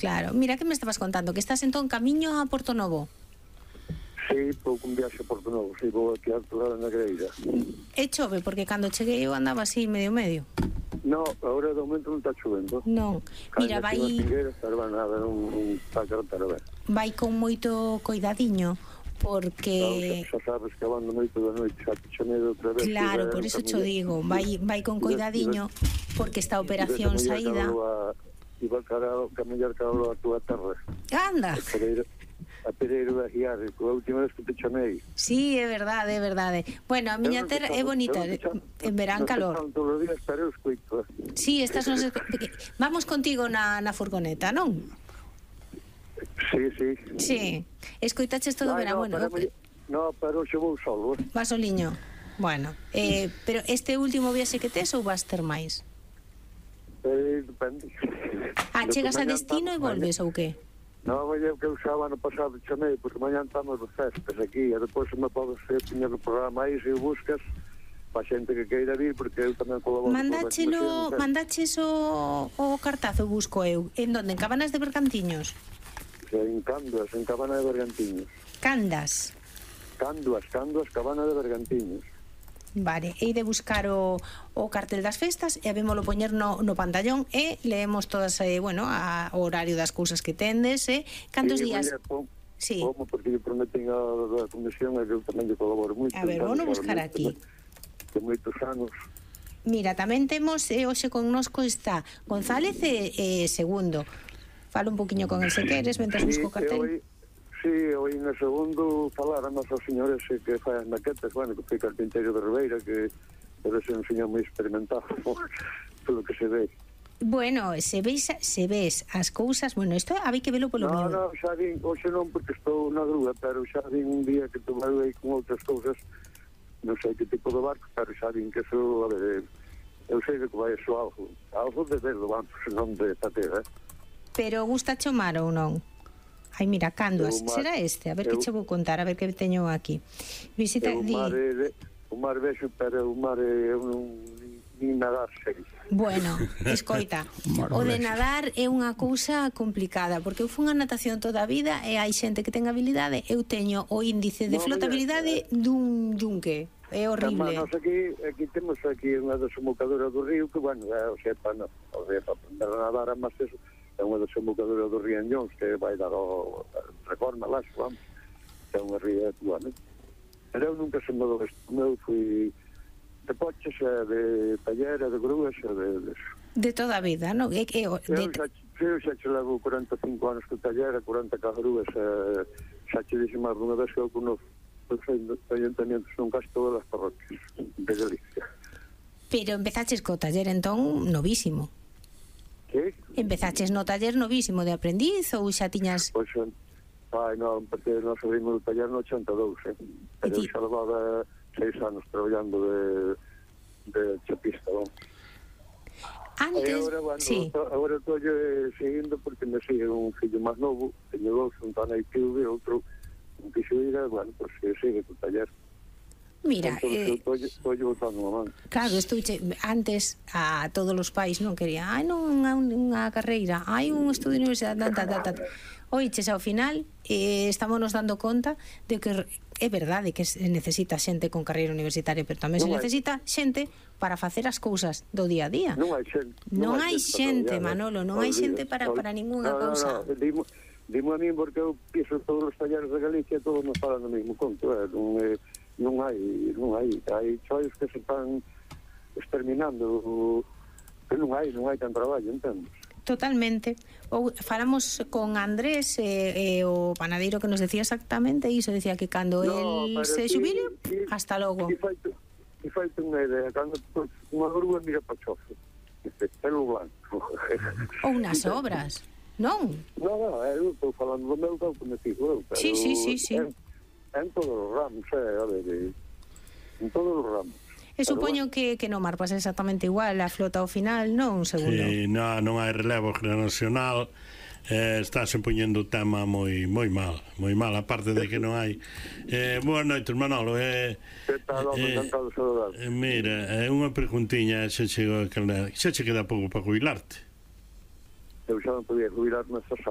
Claro, mira que me estabas contando, que estás entón camiño a Porto Novo. Sí, pouco un viaxe a Porto Novo, sí, vou aquí a aturar na Greira. E chove, porque cando cheguei eu andaba así medio. No, agora de momento non está chovendo. Non, mira, vai... Pero nada, non está carretera ben. Vai con moito coidadiño, porque... Xa sabes que abando moito da noite, xa te chamedo outra vez. Claro, por eso cho digo, vai con coidadiño, porque esta operación saída... Iba a camellar cada a túa terra. Anda! A Pereiro da Guiar, a última vez que te chamei. Sí, é verdade, é verdade. Bueno, a miña terra é bonita, en verán calor. Todos os días, pero eu escoito. Sí, estas non se... Vamos contigo na furgoneta, non? Sí, sí. Sí, escoitaches todo o verán, bueno. No, pero xe vou solo. Vas soliño. Bueno, pero este último viaxe que tes ou vas ter máis? Depende. Chegas a destino e volves ou que? Non, é o que eu xa o ano pasado chamei, porque mañan estamos de festas aquí, e depois se me podes tiña no programa aí, se o buscas, pa xente que queira vir, porque eu tamén colaboro. Mandaches o cartazo, busco eu. En donde? En Cabanas de Bergantiños? En Canduas, en Cabana de Bergantiños. Candas? Canduas, Cabana de Bergantiños. Vale, hei de buscar o cartel das festas e habémolo poñer no pantallón e leemos todas, bueno, o horario das cousas que tendes, cantos días... Sí. Como, porque eu prometen a comisión e eu tamén lle colaboro moito. A ver, vamos buscar aquí. De moitos anos. Mira, tamén temos, hoxe connosco está González Segundo. Falo un poquinho con el se queres, mentre busco o cartel. Sí, hoy no segundo falar a nosos señores que fai as maquetas, bueno, que foi carpinteiro de Ribeira, que debe ser un señor moi experimentado, polo que se ve. Bueno, se ves as cousas, bueno, isto había que velo polo meu. No, xa vin, hoxe non porque estou na grúa, pero xa vin un día que tomei aí con outras cousas, non sei que tipo de barco, pero xa vin que eso, a ver, eu sei que vai eso algo de verlo, vamos, non de patera. Pero gusta chomar ou non? Ai, mira, Canduas, será este? A ver que che vou contar, a ver que teño aquí. Visita... O mar vexo, pero o mar é nin nadar sei. Bueno, escoita, o de nadar é unha cousa complicada, porque eu fui a natación toda a vida e hai xente que ten habilidade, eu teño o índice de flotabilidade dun yunque. É horrible. Nós aquí temos aquí unha desembocadura do río que, bueno, o sea, para aprender a nadar, mas eso é unha desembocadura do río Anllóns que vai dar o Reforma, lá, vamos, que é unha ría actual, né? Pero eu nunca se me dou isto, eu fui de poches, de tallera, de grúas, de toda a vida, non? Eu xa che levo 45 anos que tallera, 40 grúas, xa che dixo máis unha vez que eu conozco os ayuntamientos son casi todas as parroquias de Galicia. Pero empezaches co taller entón novísimo. Que? Empezaches no taller novísimo de aprendiz ou xa tiñas... Pois, non, porque nós abrimos o taller no 82, pero xa levaba 6 anos traballando de chapista, vamos. Antes, agora, bueno, sí. Agora estou seguindo porque me sigue un fillo máis novo, teño dous, un tan aí que e outro un quixo ir, bueno, pois que sigue co taller. Mira, estou botando unha man. Claro, antes a todos os pais non quería, non unha carreira, hai un estudio de universidade, oiches, ao final estámonos dando conta de que é verdade que se necesita xente con carreira universitaria, pero tamén se necesita xente para facer as cousas do día a día. Non hai xente, Manolo, non hai xente para ningunha cousa. Dimo a mí porque eu pienso todos os talleres de Galicia todos nos falan do mesmo conto, non hai choios que se están exterminando, que non hai tan traballo, entendes? Totalmente. Ou falamos con Andrés, o panadeiro que nos decía exactamente iso, decía que cando el se xubile, hasta logo. E faite unha idea, cando unha grúa mira para o chofe, pelo blanco. Ou nas obras, non? Non, eu estou falando do meu campo, me fijo eu. Sí. En todos os ramos, a ver, en todos os ramos. E supoño que no mar pasa exactamente igual, a flota ao final, non, segundo. Sí, non hai relevo generacional, estáse poñendo o tema moi mal, aparte de que non hai. Boas noites, Manolo. Que tal, encantado de saludar. Mira, unha preguntiña, xa che queda pouco para jubilarte? Eu xa non podía jubilarme esta sábado.